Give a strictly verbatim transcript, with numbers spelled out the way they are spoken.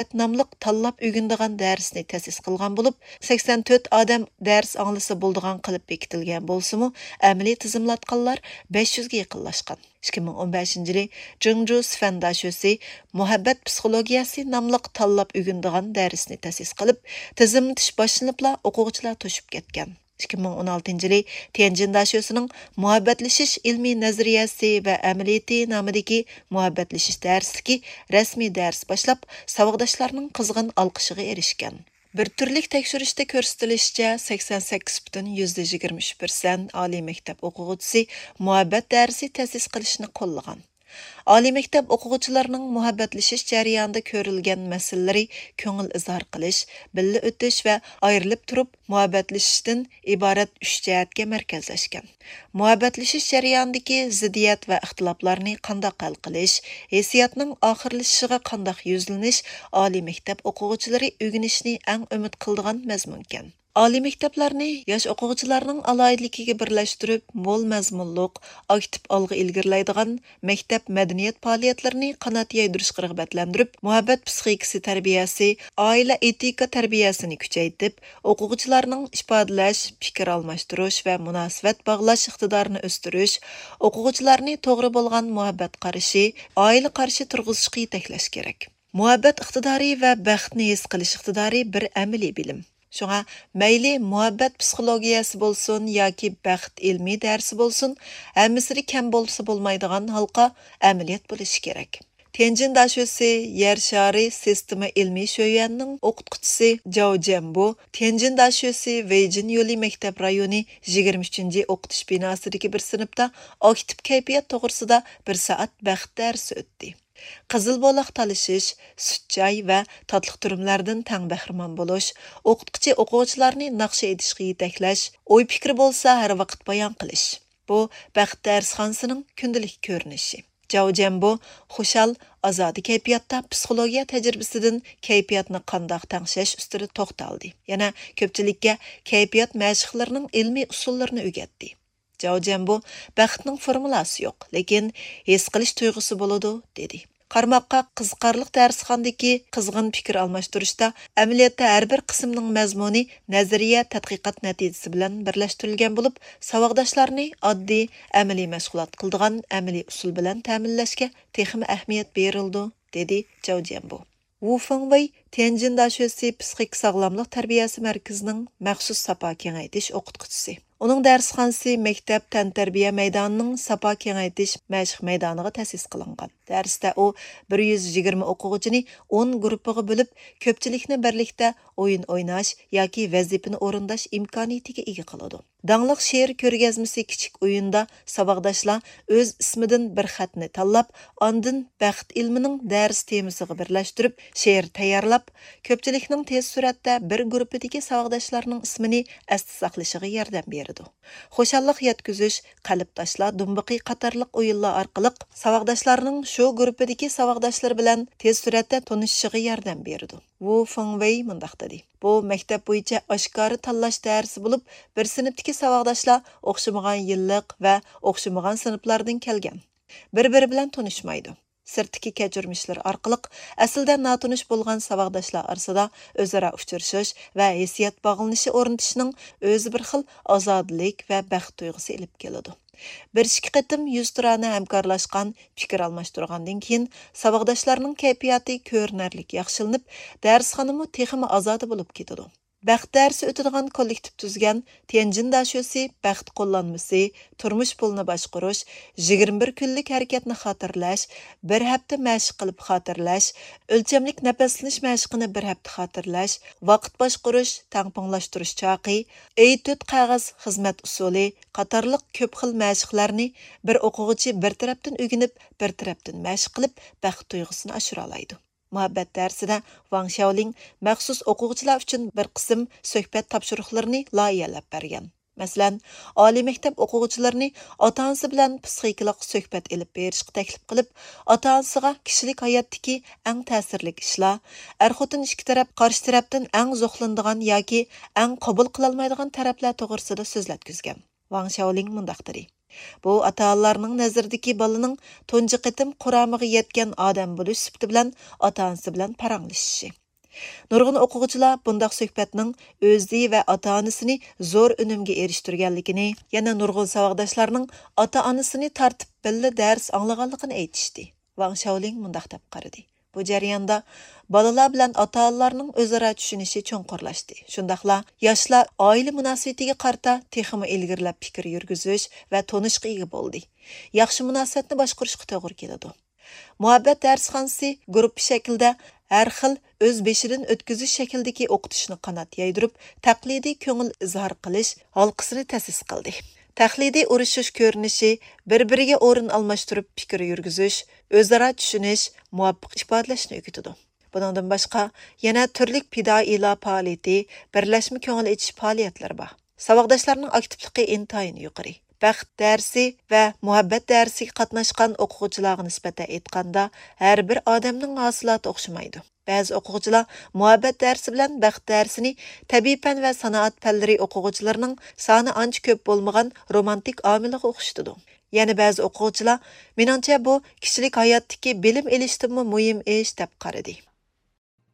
مۇھەببەت ناملىق تاللاپ ئۆگىنىدىغان دەرسنى تەسىس قىلغان بولۇپ، سەكسەن تۆت ئادەم دەرس ئاڭلىسا بولىدىغان قىلىپ بېكىتىلگەن بولسىمۇ، ئەمەلىي تىزىملاتقانلار بەش يۈزگە يېقىنلاشقان. ئىككى مىڭ ئون بەشىنچى يىلى جىڭجۇ سىفەن داشۆسى مۇھەببەت پسىخولوگىيەسى ناملىق تاللاپ ئۆگىنىدىغان دەرسنى تەسىس قىلىپ، تىزىملىتىش باشلىنىپلا ئوقۇغۇچىلار توشۇپ كەتكەن. ئىككى مىڭ ئون ئالتىنچى يىلى تيەنجىن داشۆسىنىڭ مۇھەببەتلىشىش ئىلمىي نەزەرىيەسى ۋە ئەمەلىيىتى نامىدىكى مۇھەببەتلىشىش دەرسلىكى رەسمىي دەرس باشلاپ، ساۋاقداشلارنىڭ قىزغىن ئالقىشىغا ئېرىشكەن. بىر تۈرلۈك تەكشۈرۈشتە كۆرسىتىلىشىچە، سەكسەن سەككىز پۈتۈن يۈزدە يىگىرمە ئۈچ پىرسەنت ئالىي مەكتەپ ئوقۇغۇچىسى مۇھەببەت دەرسى تەسىس قىلىشنى قوللىغان. ئالىي مەكتەپ ئوقۇغۇچىلىرىنىڭ مۇھەببەتلىشىش جەريانىدا كۆرۈلگەن مەسىلىلىرى كۆڭۈل ئىزھار قىلىش، بىللە ئۆتۈش ۋە ئايرىلىپ تۇرۇپ مۇھەببەتلىشىشتىن ئىبارەت ئۈچ جەھەتكە مەركەزلەشكەن. مۇھەببەتلىشىش جەريانىدىكى زىددىيەت ۋە ئىختىلاپلارنى قانداق ھەل قىلىش، ھېسسىياتنىڭ ئاخىرلىشىشىغا قانداق يۈزلىنىش ئالىي مەكتەپ ئوقۇغۇچىلىرى ئۆگىنىشنى ئەڭ ئۈمىد قىلىدىغان مەزمۇنكەن. ئالىي مەكتەپلەرنى ياش ئوقۇغۇچىلارنىڭ ئالاھىدىلىكىگە بىرلەشتۈرۈپ، مول مەزمۇنلۇق، ئاكتىپ ئالغا ئىلگىرىلەيدىغان مەكتەپ مەدەنىيەت پائالىيەتلىرىنى قانات يايدۇرۇشقا رىغبەتلەندۈرۈپ، مۇھەببەت پسىخىكىسى تەربىيەسى، ئائىلە ئېتىكا تەربىيەسىنى كۈچەيتىپ، ئوقۇغۇچىلارنىڭ ئىپادىلەش، پىكىر ئالماشتۇرۇش ۋە مۇناسىۋەت باغلاش ئىقتىدارىنى ئۆستۈرۈش، ئوقۇغۇچىلارنى توغرا بولغان مۇھەببەت قارىشى، ئائىلە قارىشى تۇرغۇزۇشقا يېتەكلەش كېرەك. مۇھەببەت ئىقتىدارى ۋە بەختنى ھېس قىلىش ئىقتىدارى بىر ئەمەلىي بىلىم. شۇڭا مەيلى مۇھەببەت پسىخولوگىيەسى بولسۇن ياكى بەخت ئىلمىي دەرسى بولسۇن، ھەممىسىدە كەم بولسا بولمايدىغان ھالقا ئەمەلىيەت بولۇشى كېرەك. تيەنجىن داشۆسى يەر شارى سىستېما ئىلمىي شۆيۈەننىڭ ئوقۇتقۇچىسى جاۋ جيەنبو، تيەنجىن داشۆسى ۋېيجىن يولى مەكتەپ رايونى يىگىرمە ئۈچىنچى ئوقۇتۇش بىناسىدىكى بىر سىنىپتا ئاكتىپ كەيپىيات توغرىسىدا بىر سائەت بەخت دەرسى ئۆتتى. قىزىل بولاق تالىشىش، سۈت چاي ۋە تاتلىق تۈرۈملەردىن تەڭ بەھرىمەن بولۇش، ئوقۇتقۇچى ئوقۇغۇچىلارنى ناخشا ئېيتىشقا يېتەكلەش، ئوي پىكرى بولسا ھەر ۋاقىت بايان قىلىش. بۇ بەخت دەرسخانىسىنىڭ كۈندىلىك كۆرۈنۈشى. جاۋ جيەنبو خۇشال، ئازادە كەيپىياتتا پسىخولوگىيە تەجرىبىسىدىن كەيپىياتنى قانداق تەڭشەش ئۈستىدە توختالدى. يەنە كۆپچىلىككە كەيپىيات مەشىقلىرىنىڭ ئىلمىي ئۇسۇللىرىنى ئۆگەتتى. جاۋ جيەنبو، بەختنىڭ فورمۇلاسى يوق، لېكىن ھېس قىلىش تۇيغۇسى بولىدۇ، دېدى. قارىماققا قىزىقارلىق دەرسخانىدىكى قىزغىن پىكىر ئالماشتۇرۇشتا ئەمەلىيەتتە ھەر بىر قىسىمنىڭ مەزمۇنى نەزەرىيە تەتقىقات نەتىجىسى بىلەن بىرلەشتۈرۈلگەن بولۇپ، ساۋاقداشلارنى ئاددىي ئەمەلىي مەشغۇلات قىلىدىغان ئەمەلىي ئۇسۇل بىلەن تەمىنلەشكە تېخىمۇ ئەھمىيەت بېرىلىدۇ، دېدى جاۋ جيەنبو. ۋۇ فېڭۋېي تيەنجىن داشۆسى پسىخىك ساغلاملىق تەربىيەسى مەركىزىنىڭ مەخسۇس ساپا كېڭەيتىش ئوقۇتقۇچىسى. ئۇنىڭ دەرسخانىسى مەكتەپ تەنتەربىيە مەيدانىنىڭ ساپا كېڭەيتىش مەشىق مەيدانىغا تەسىس قىلىنغان. دەرستە ئۇ بىر يۈز يىگىرمە ئوقۇغۇچىنى ئون گۇرۇپپىغا بۆلۈپ، كۆپچىلىكنى بىرلىكتە ئويۇن ئويناش ياكى ۋەزىپىنى ئورۇنداش ئىمكانىيىتىگە ئىگە قىلىدۇ. داڭلىق شېئىر كۆرگەزمىسى كىچىك ئويۇندا ساۋاقداشلار ئۆز ئىسمىدىن بىر خەتنى تاللاپ، ئاندىن بەخت ئىلمىنىڭ دەرس تېمىسىغا بىرلەشتۈرۈپ شېئىر تەييارلاپ، كۆپچىلىكنىڭ تېز سۈرئەتتە بىر گۇرۇپپىدىكى ساۋاقداشلارنىڭ ئىسمىنى ئەستە ساقلىشىغا ياردەم بېرىدۇ. خۇشاللىق يەتكۈزۈش، قەلب تاشلا دۇمبىقى قاتارلىق ئويۇنلار ئارقىلىق ساۋاقداشلارنىڭ شۇ گۇرۇپپىدىكى ساۋاقداشلىرى بىلەن تېز سۈرئەتتە تونۇشۇشىغا ياردەم بېرىدۇ. ۋۇ فېڭۋېي مۇنداق دېدى: بۇ مەكتەپ بويىچە ئاشكارا تاللاش دەرسى بولۇپ، بىر سىنىپتىكى ساۋاقداشلار ئوخشىمىغان يىللىق ۋە ئوخشىمىغان سىنىپلاردىن كەلگەن. بىر-بىرى بىلەن تونۇشمايدۇ. سىرتتىكى كەچۈرمىشلىرى ئارقىلىق ئەسلىدە ناتونۇش بولغان ساۋاقداشلار ئارىسىدا ئۆزئارا ئۇچرىشىش ۋە ھېسسىيات باغلىنىشى ئورنىتىشنىڭ ئۆزى بىر خىل ئازادىلىك ۋە بەخت تۇيغۇسى ئېلىپ كېلىدۇ. بىر ئىككى قېتىم يۈزتۇرانە ھەمكارلاشقان، پىكىر ئالماشتۇرغاندىن كېيىن، ساۋاقداشلارنىڭ كەيپىياتى كۆرۈنەرلىك ياخشىلىنىپ، دەرسخانىمۇ تېخىمۇ ئازادە بولۇپ كېتىدۇ. بەخت دەرسى ئۆتىدىغان كوللېكتىپ تۈزگەن تيەنجىن داشۆسى بەخت قوللانمىسى، تۇرمۇش پۇلىنى باشقۇرۇش، يىگىرمە بىر كۈنلۈك ھەرىكەتنى خاتىرىلەش، بىر ھەپتە مەشىق قىلىپ خاتىرىلەش، ئۆلچەملىك نەپەسلىنىش مەشقىنى بىر ھەپتە خاتىرىلەش، ۋاقىت باشقۇرۇش، تەڭپۇڭلاشتۇرۇش چاقى، ئېي تۆت قەغەز خىزمەت ئۇسۇلى قاتارلىق كۆپ خىل مەشىقلەرنى بىر ئوقۇغۇچى بىر تەرەپتىن ئۆگىنىپ، بىر تەرەپتىن مەشىق قىلىپ، بەخت تۇيغۇسىنى ئاشۇرالايدۇ. مۇھەببەت دەرسىدە ۋاڭ شياۋلىڭ مەخسۇس ئوقۇغۇچىلار ئۈچۈن بىر قىسىم سۆھبەت تاپشۇرۇقلىرىنى لايىھەلەپ بەرگەن. مەسىلەن، ئالىي مەكتەپ ئوقۇغۇچىلىرىنى ئاتا-ئانىسى بىلەن پسىخىكىلىق سۆھبەت ئېلىپ بېرىشقا تەكلىپ قىلىپ، ئاتا-ئانىسىغا كىشىلىك ھاياتتىكى ئەڭ تەسىرلىك ئىشلار، ئەر-خوتۇن ئىككى تەرەپ قارشى تەرەپتىن ئەڭ زوقلىنىدىغان ياكى ئەڭ قوبۇل قىلالمايدىغان تەرەپلەر توغرىسىدا سۆزلەتكۈزگەن. ۋاڭ شياۋلىڭ مۇنداق دېدى: بۇ ئاتا-ئانىلارنىڭ نەزىرىدىكى بالىنىڭ تۇنجى قېتىم قۇرامىغا يەتكەن ئادەم بولۇش سۈپىتى بىلەن ئاتا-ئانىسى بىلەن پاراڭلىشىشى. نۇرغۇن ئوقۇغۇچىلار بۇنداق سۆھبەتنىڭ ئۆزى ۋە ئاتا-ئانىسىنى زور ئۈنۈمگە ئېرىشتۈرگەنلىكىنى، يەنە نۇرغۇن ساۋاقداشلارنىڭ ئاتا-ئانىسىنى تارتىپ بىللە دەرس ئاڭلىغانلىقىنى ئېيتىشتى. ۋاڭ شاۋلىڭ مۇنداق دەپ قارىدى: بۇ جەرياندا بالىلار بىلەن ئاتا-ئانىلارنىڭ ئۆزئارا چۈشىنىشى چوڭقۇرلاشتى. شۇنداقلا ياشلار ئائىلە مۇناسىۋىتىگە قارىتا تېخىمۇ ئىلگىرىلەپ پىكىر يۈرگۈزۈش ۋە تونۇشقا ئىگە بولدى. ياخشى مۇناسىۋەتنى باشقۇرۇشقا توغرا كېلىدۇ. مۇھەببەت دەرسخانىسى گۇرۇپپا شەكلىدە ھەر خىل ئۆز بېشىدىن ئۆتكۈزۈش شەكلىدىكى ئوقۇتۇشنى قانات يايدۇرۇپ، تەقلىدىي كۆڭۈل ئىزھار قىلىش ھالقىسىنى تەسىس قىلدى. تەقلىدىي ئۇرۇشۇش كۆرۈنۈشى بىر-بىرىگە ئورۇن ئالماشتۇرۇپ پىكىر يۈرگۈزۈش، ئۆزئارا چۈشىنىش، مۇۋاپىق ئىپادىلەشنى ئۆگىتىدۇ. بۇنىڭدىن باشقا، يەنە تۈرلۈك پىدائىيلار پائالىيىتى، بىرلەشمە كۆڭۈل ئېچىش پائالىيەتلىرى بار. ساۋاقداشلارنىڭ ئاكتىپلىقى ئىنتايىن يۇقىرى. بەخت دەرسى ۋە مۇھەببەت دەرسىگە قاتناشقان ئوقۇغۇچىلارغا نىسبەتەن ئېيتقاندا، ھەر بىر ئادەمنىڭ ھاسىلاتى ئوخشىمايدۇ. بەزى ئوقۇغۇچىلار مۇھەببەت دەرسى بىلەن بەخت دەرسىنى تەبىئىي پەن ۋە سانائەت پەنلىرى ئوقۇغۇچىلىرىنىڭ سانى ئانچە كۆپ بولمىغان رومانتىك ئامىلىغا ئوخشىتىدۇ. يەنە بەزى ئوقۇغۇچىلار، مېنىڭچە، بۇ كىشىلىك ھاياتتىكى بىلىم ئېلىشتىنمۇ مۇھىم ئىش، دەپ قارىدى.